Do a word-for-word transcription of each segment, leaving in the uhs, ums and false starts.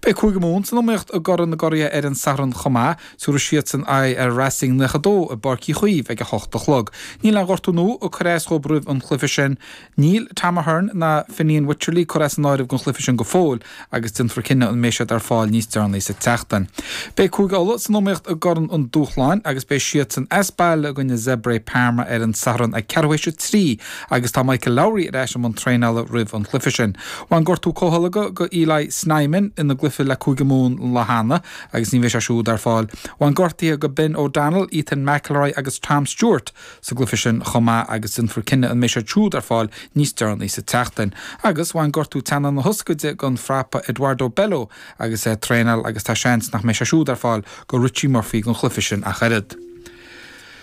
Beidh Cúige Mumhan san iomaíocht i gCorn na gCuraithe ar an Satharn chomh maith, tabharfaidh siadsan aghaidh ar Racing nócha dó i bPáirc Uí Chaoimh ag a hocht a chlog. Níl aon ghortú nua ag cur as dhóibh roimh an chluiche sin. Níl Tom Ahern ná Fineen Wycherley curtha as an áireamh don chluiche sin go fóill agus déanfar cinneadh an mbeidh siad ar fáil níos deireanaí sa tseachtain. Beidh Cúige Uladh san iomaíocht i gCorn an Dúshláin agus beidh siadsan as baile i gcoinne Zebre Parma ar an Satharn ag ceathrú théis a trí agus tá Michael Lowry ar ais i mbun traenála roimh an chluiche sin. Bhain gortú comhtholgtha go Eli Snyman ina gcluiche le Cúige Mumhan an lá cheana agus ní bheidh sé siúd ar fáil. Bhain gortuithe go Ben O'Donnell, Ethan McElroy agus Tom Stewart sa gcluiche sin chomh maith agus déanfar cinneadh an mbeidh siad siúd ar fáil níos deireanaí sa tseachtain. Agus bhain gortú teannán na hioscaide don phrapa Eduardo Bello agus é ag traenáil agus tá seans nach mbeidh sé siúd ar fáil go Richie Murphy don chluiche sin ach oiread.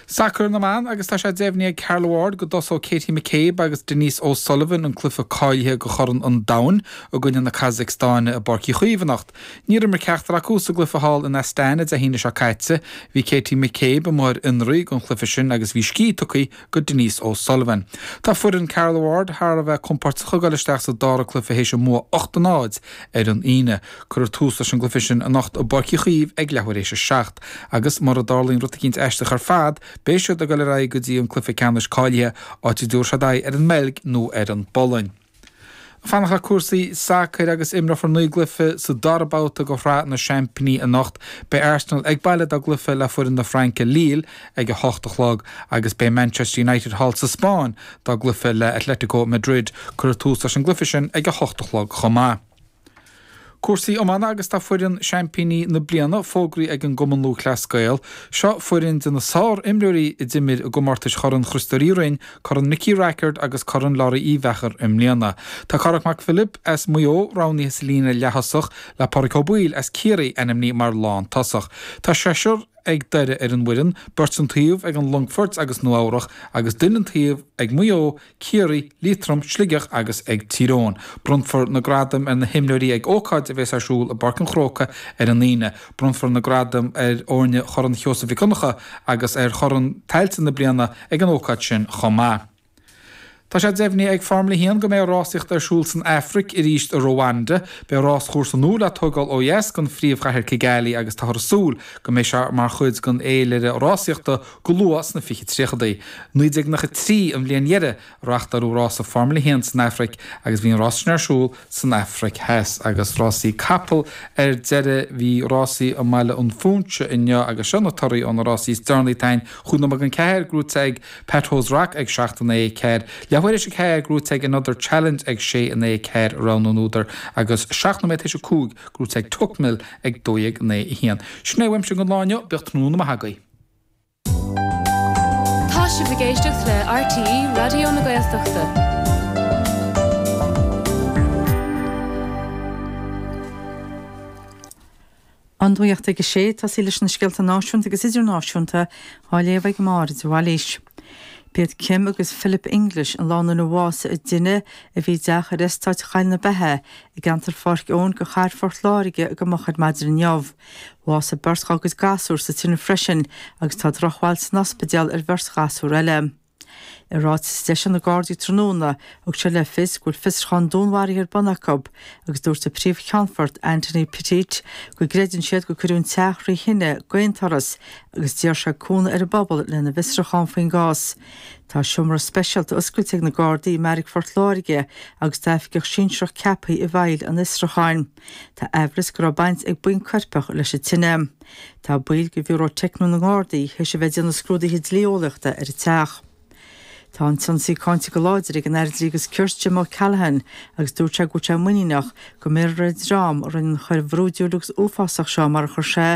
Sacar na mban agus tá sé deimhnithe ag Carla Ward go dtosóidh Katie McCabe agus Denise O'Sullivan an cluiche cáilithe do Chorn an Domhain i gcoinne na Casacstáine i bPáirc Uí Chaoimh anocht. Níor imir ceachtar acu sa gcluiche thall in Astana Dé hAoine seo caite. Bhí Katie McCabe amuigh ar fionraí don chluiche sin agus bhí scíth tugtha go Denise O'Sullivan. Tá foireann Carla Ward thar a bheith compordach ag dul isteach sa dara cluiche théis a mbua ocht a náid ar an Aoine. Cuirfear tús leis an gcluiche sin anocht i bPáirc Uí Chaoimh ag leathuair théis a seacht. Agus mura dtarlaíonn rud eicínt aisteach ar fad, beidh siad ag dul ar aghaidh go dtí an cluiche ceannais cáilithe áit a dtabharfaidh siad aghaidh ar an mBeilg nó ar an bPolainn. Fanacht le cúrsaí sacair agus imreofar naoi gcluiche sa dara babhta de Shraith na Seaimpíní anocht. Beidh Arsenal ag baile dá gcluiche le foireann na Fraince Lille ag a hocht a chlog agus beidh Manchester United thall sa Spáinn dá gcluiche le Atletico Madrid. Cuirfear tús leis an gcluiche sin ag a hocht a chlog chomh maith. Cúrsaí iomána agus tá foireann seaimpíní na bliana fógraithe ag an gCumann Lúthchleas Gael. Seo foireann de na sár-imreoirí a d'imir i gcomórtais Chorn Chriostóir Uí Rinn, Corn Nicky Rackard agus Corn Laurie Uí Mheachair i mbliana. Tá Cárthach Mac Philip as Maigh Eo roghnaithe sa líne leath-thosach le Pádraig Ó Baoill as Ciarraí ainmnithe mar lántosach. Tá seisear ag Doire ar an bhfoireann, beirt an taobh ag an Longfort agus Nua Eabhrach agus duine an taobh ag Maigh Eo, Ciarraí, Liatroim, Sligeach agus ag Tír Eoghain. Bronnfar na gradaim ar na himreoirí ag ócáid a bheas ar siúl i bPáirc an Chrócaigh ar an Aoine. Bronnfar na gradaim ar fhoirne Chorn Sheosaimh Mhic Donncha agus ar Chorn Tailte na bliana ag an ócáid sin chomh maith. Tá sé deimhnithe ag Formula a haon go mbeidh rásaíocht ar siúl san Afraic arís i Rwanda. Beidh ráschúrsa nua le tógáil ó dheas den phríomhchathair Kigali agus táthar ag súil go mbeidh sé mar chuid den fhéilire rásaíochta go luath sna fiche tríochadaí. naoi déag nócha trí an bhliain dheiridh a reáchtáladh rása Formula a haon san Afraic agus bhí an rás sin ar siúl san Afraic Theas. Agus rásaí capall ar deireadh bhí rásaí i mBaile an Phúinse inniu agus seo na torthaí ó na rásaí is deireanaí atá ann. Chúig nóiméad don ceathair gnóite ag Pat O's Rock ag seacht in aghaidh a ceathair. Leathuair théis a ceathair gnóite ag Another Challenge ag sé in aghaidh a ceathair rogha na n-údar agus seacht nóiméad théis a cúig gnóite ag Tuckmill ag dó dhéag in aghaidh a haon. Sin é uaimse don lá inniu, bíodh tráthnóna maith agaibh. Tá sibh ag éisteacht le RTÉ Raidió na Gaeltachta. An Nuacht ag a sé, tosaí leis na scéalta náisiúnta agus idirnáisiúnta á léamh ag Máire de Bhailís. B'iad Kim agus Philip English an lánúin a bhásaigh i dtine a bhí i dteach ar eastát Choill na Beithe i gceantar Pháirc Eoin de chathair Phort Láirge go moch ar maidin inniu. Bhásaigh beirt dá gcuid gasúr sa tine freisin agus tá drochbhail san ospidéal ar bheirt ghasúr eile. I ráiteas a d'eisigh na Gardaí tráthnóna, thug siad le fios go bhfuil fiosrúchán dúnmharaithe ar bun acu agus dúirt an Príomh-Cheannfort Anthony Petit go gcreideann siad gur cuireadh an teach thrí thine d'aon turas agus d'iarr sé cúnamh ar an bpobal lena bhfiosrúchán faoin gcás. Tá seomra speisialta oscailte ag na Gardaí i mBeairic Phort Láirge agus tá oifigeach sinsearach ceaptha i bhfeighil an fhiosrúcháin. Tá aimhreas go raibh baint ag buíon coirpeach leis an tine. Tá baill de Bhiúró Teicniúil na nGardaí théis a bheith ag déanamh scrúduithe dlí-eolaíochta ar an teach. Tá an t-ionsaí cáinte go láidir ag an Aire Dlí agus Cirt Jim O'Callaghan agus dúirt sé go bhfuil sé muiníneach go mbéarfar ar an dream a rinne an choir bhrúidiúil agus uafásach seo mar a chuir sé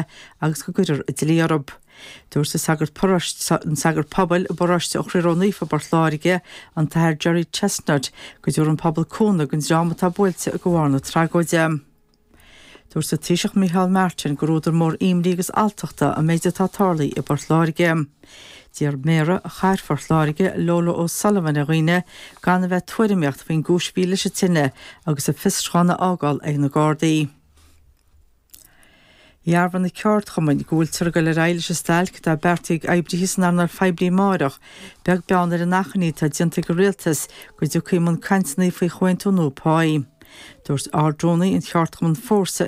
agus go gcuirfear an dlí orthu. Dúirt an sagart paróiste an sagart pobail i bparóiste an Chroí Ró-Naofa i bPort Láirge, an tAthair Gerry Chestnutt, go dtabharfaidh an pobal cúnamh don dream atá buailte de bharr na tragóide. Dúirt an Taoiseach Micheál Martin gur údar mór imní agus alltachta an méid atá tarlaithe i bPort Láirge. D'iarr Méara Chathair Phort Láirge, Lola O'Sullivan ar dhaoine gan a bheith ag tuairimíocht faoin gcúis a bhí leis an tine agus an fiosrúchán a fhágáil ag na Gardaí. Dhearbhaigh na ceardchumainn go bhfuiltear ag dul ar aghaidh leis an stailc atá beartaithe ag oibrithe san earnáil phoiblí amárach, beag beann ar an achainí atá déanta ag an rialtas go dtiocfaí i mbun cainteanna faoi chomhaontú nua páí. Dúirt Ard-Rúnaí an cheardchumainn Fórsa,